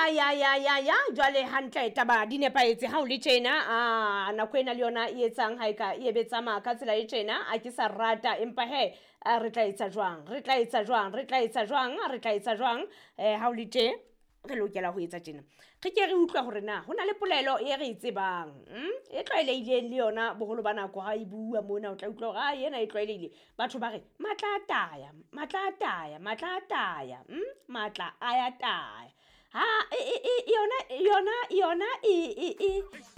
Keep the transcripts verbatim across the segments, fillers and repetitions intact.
Ya ya ya ya ya jwale hantle taba di nepahetse ha o le tjena a nako ena le yona e etsang ha e ka e be tsamaya ka tsela e tjena a ke sa rata empa he re tla etsa jwang re tla etsa jwang re tla etsa jwang re tla etsa jwang eh ha o le tje re lokela ho etsa tjena re ke re utlwa hore na ho na le polelo e re e tsebang e tlwaelehileng le yona boholo ba nako ha e bua mona o tla utlwa hore a ena e tlwaelehile batho ba re matla a taya matla a taya matla a taya matla a ya taya ha e e yona yona yona e e e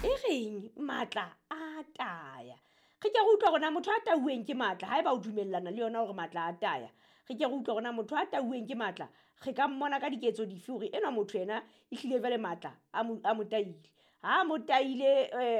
e reng matla a taya re ke re utlwa hore na motho a tauweng ke matla haeba o dumellana le yona hore matla a taya re ke re utlwa hore na motho a tauweng ke matla re ka mmona ka diketso dife hore enwa motho ena ehlile jwale matla a mo a mo taile ha mo taile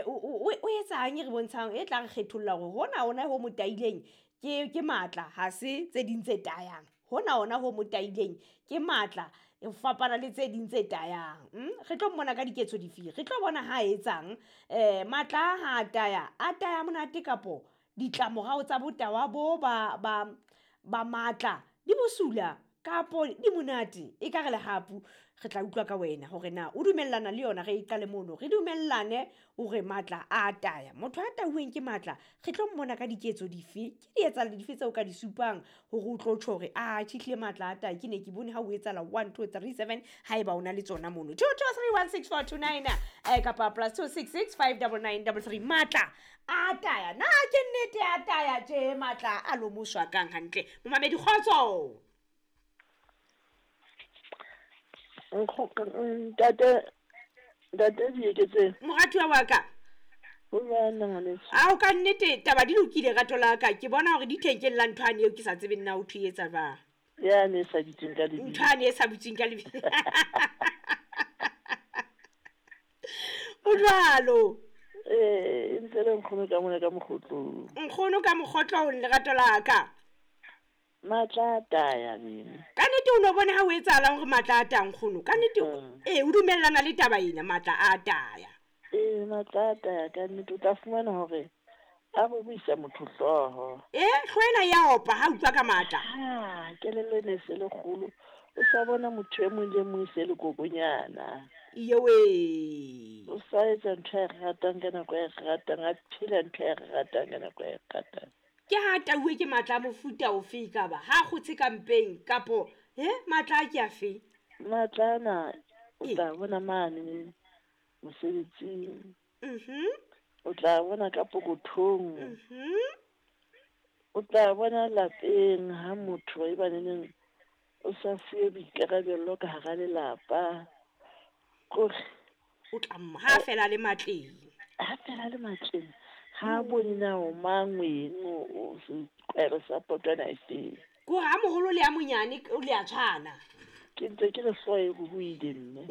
o etsang e re bontshang e tla re kgetholla hore hona ona ho mo taileng ke ke matla ha se tse ding tse tayang hona ona ho mo taileng ke matla e fapana le tse ding tse tayang re tlo mmona ka diketso dife re tlo bona ha etsang eh matla ha taya a taya monate kapo ditlamorao tsa botawa bo ba ba ba matla di bosula kapo di monate e ka re lehapu re tla utlwa ka wena hore na o dumellana le yona re e qale mono re dumellane hore matla a taya motho a tauweng ke matla re tlo mmona ka diketso dife ke di etsang dife tseo ka di supang hore o tlo tjho hore a tjhihle matla a taya ke ne ke bone ha o etsala one two three seven haeba o na le tsona mono two two three one six four two nine eh kapa plus two six six five nine nine three three matla a taya na ke nnete a taya tje matla a lomoswa kang hantle momamedi kgotso Ntate ntate Dieketseng moratuwa wa ka ho jwang ngwaneso ao ka nnete taba di lokile rato la ka ke bona hore di thenkeng la nthwane eo ke sa tsebeng na o thwe etsa jwang ya ne sa bitseng ka lebitso nthwane e sa bitseng ka lebitso o jwalo eh ntse le nkgono ka mona ka mokgotlong nkgono ka mokgotlong lerato la ka matla a taya bene ka nnete o no bone ha o etsahalang hore matla a taya nkgono ka nnete ee o dumellana le taba ena matla a taya ee matla a taya ka nnete o tla fumana hore a bobuisa motho hlooho ee hlooho ena ya opa ha utlwa ka matla ha kelello ene e se le kgolo o sa bona motho e mong le mong e se le kokonyana iyowe o sa etsa ntho e ratang ka nako e ratang a phela ntho e ratang ka nako e ratang ke ha tauwe ke matla a mofuta ofe ka ba ha kgotse ka mpeng kapo he matla a ke afe matla ana o tla bona mane mosebetsing mhm o tla bona ka pokothong mhm o tla bona lapeng ha motho e baneneng o sa fuwe boikarabello ka hara lelapa kore o tla ha fela le matleng ha fela le matleng ha bone na o mang weng o sekwere sa potwana e feng ko ha moholo le a monyane o le a tshwana ke ntse ke re hlooho e ruruhile mme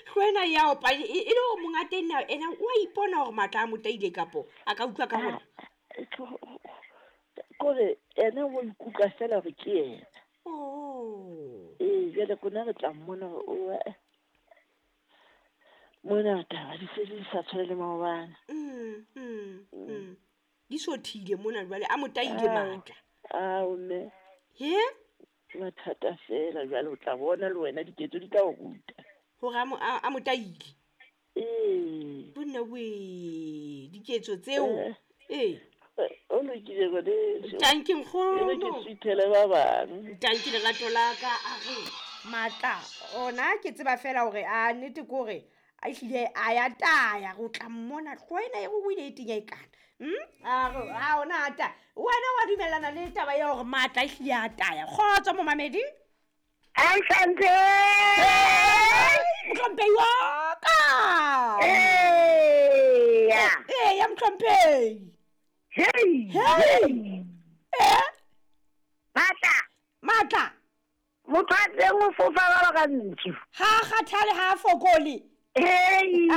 hlooho ena ya opa e le hore monga teng na ena o a ipona hore matla a mo taile kapo a ka utlwa ka hore kore ena o ikutlwa fela hore ke yena oh ee jwale rona re tla mmona hore o mona taba di se di sa tshwane le maobane mm mm mm di sothile mona jwale a mo taile matla ao mme he mathata fela jwale o tla bona le wena diketso di tla o ruta hore a mo taile ee bonna we diketso tseo ee o lokile ngwaneso tanki nkgono ke suthele ba bang tanki lerato la ka a re matla ona ke tseba fela hore a nnete ke hore a ehlile a ya taya go tla mmona hlooho ena e ruruhile e tenya e kana a re a ona a taya wena wa dumellana le taba ya hore matla ehlile a taya kgotso momamedi Asante mohlomphehi wa ka eya eya mohlomphehi hey hey eh matla matla motho a teng o fofa jwalo ka ntsu ha kgathale ha fokole hey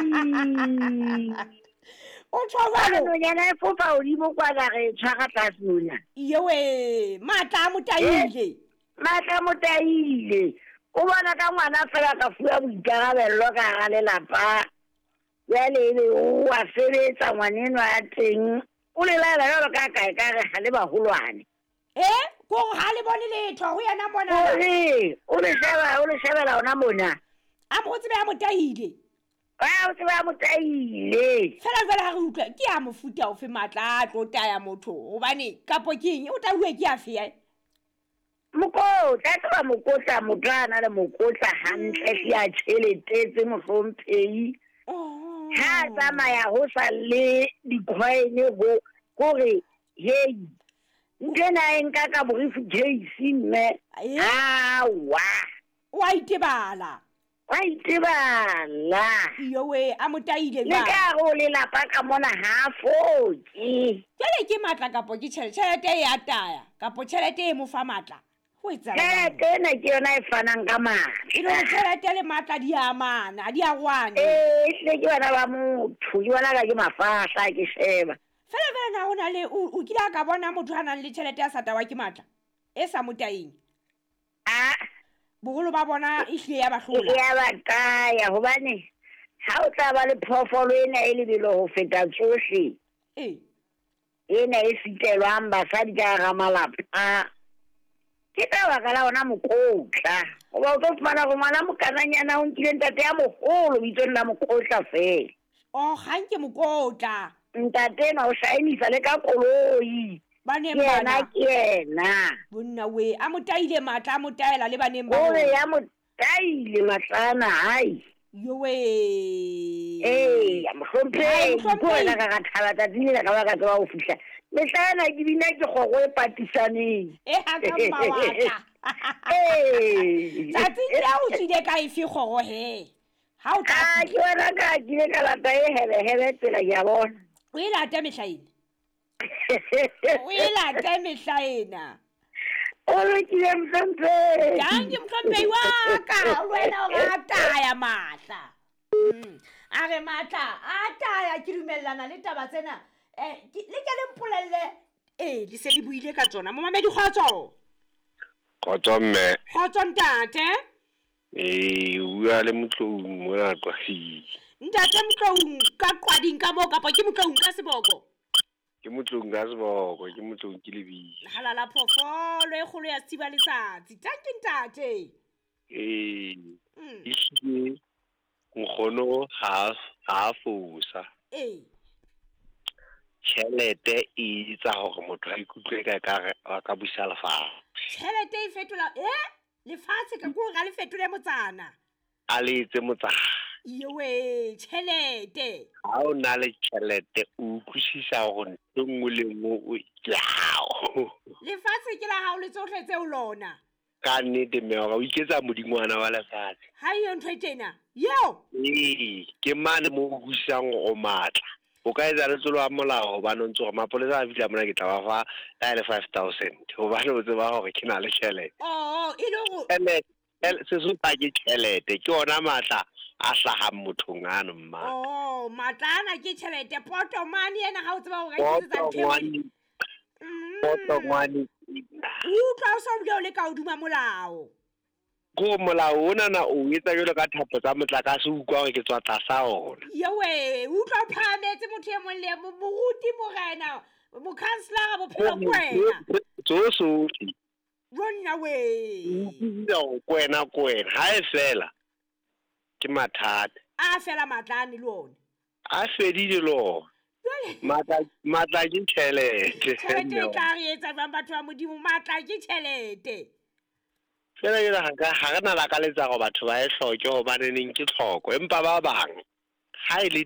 o tjho jwalo nonyana e fofa hodimo kwana re tshwara tlase mona iyowe matla a mo taile matla a mo taile o bona ka ngwana fela ka fuwa boikarabello ka hara lelapa jwale ebe o a sebetsa ngwanenwa ya teng o le laela jwalo ka kae ka re ha le baholwane eh ko ha le bone letho ho yena mona o le o le sheba o le shebela ona mona A mo tsebe a mo tahile. A o tsebe a mo tahile. Fela jwale ha re utlwa ke a mofuta ofe matla a tlo taya motho hobane kapo ke eng o tauwe ke afe ya? Mokotla, tseba mokotla motho a na le mokotla hantle hle a tjhelete mohlomphehi. Ha tsamaya ho sa le dikhoene ho hore hey ntho ena e nka ka briefcase mme awa wa itebala wa itebala yowe a motaile ba le ka go lelapa ka mona ha foke jwale ke matla kapo ke tjhelete tjhelete e ataya kapo tjhelete e mo fa matla ho etsa tjhelete ena ke yona e fanang ka matla e le tjhelete le matla di a amana di a rwana eh ehlile ke bana ba motho ke bona ka ke mafahla ke sheba fela fela na hona le o kile a ka bona motho a nang le tjhelete ya satawa ke matla e sa motaeng a boholo ba bona e hlile ya ba hlola ya ba taya hobane ha o tla ba le phoofolo ena e lebelo ho feta tsohle eh ena e sitelwang basadi ka hara malapa ke ka baka la ona mokotla hoba o tlo fumana hore ngwana mokananyana o nkile ntate ya moholo bitsong la mokotla fela oh ga nke mokotla ntate ena o shaenisa le ka koloi baneng bana ke yena bonna we a motaile matla a motaela le baneng ba ore ya motaile matla ana hai yowe eh ya mohlomphehi ko wena ka ka thaba tsatsing le ka ba ka tseba ho fihla mehla ena ke bina ke kgoro e patisaneng e ha ka mawatla eh tsatsing le o tswile ka efe kgoro he ha o tla ke wena ka ke ile ka lata e hele hele tsela ke a bona o e lata mehla ena o e lata mehla ena o lokile mohlomphehi danke mohlomphehi wa ka le wena o rataya matla a re matla a taya ke dumellana le taba tsena eh le ke le mpolelle eh le se le buile ka tsona momamedi kgotso kgotso mme kgotso ntate eh o bua le Motloung mona Qwading ntate Motloung ka Qwading ka moo kapa ke Motloung ka seboko ke Motloung ka seboko ke Motloung ke lebitso halala phoofolo e kgolo ya Setiba Letsatsi tanki ntate eh ehlile nkgono ha ha fosa eh tjhelete e etsa hore motho a ikutlwe ka ka a ka busa lefatshe tjhelete e fetola eh lefatshe ka ko ga le fetole motsana a le etse motsana yewe tjhelete ha o na le tjhelete o utlwisisa hore ntho nngwe le nngwe ke hao lefatshe ke la hao le tsohle tseo lona ka nnete mme o iketsa modingwana wa lefatshe ha iyo ntho e tjena yeo ee ke mane mo o utlwisisang hore o matla o ka etsa letsolo a molao hobane o ntse hore mapolesa a fihla mona ke tla ba fa la le five thousand hobane o tseba hore ke na le tjhelete oh e le hore sesotho ke tjhelete ke ona matla a hlahang mothong ano mma oh matla ana ke tjhelete potomane ena ha o tseba hore a iketsetsa ntho e potongwane utlwa o sa bile o le ka hodima molao ko molao ona na o etsa jwalo ka thapo tsa motlakase o utlwa hore ke tswa tlasa ona yewe utlwa o phahametse motho e mong le moruti morena mokhanselara bophelo ke wena tsohle ronna we o kwena kwena ha e fela ke mathata a fela matla ane le ona a fedile le ona matla matla ke tjhelete tjhelete e tla re etsa jwang batho ba modimo matla ke tjhelete fela jwale ha ka ha re na lakaletsa hore batho ba e hloke hobaneneng ke tlhoko empa ba bang ha e le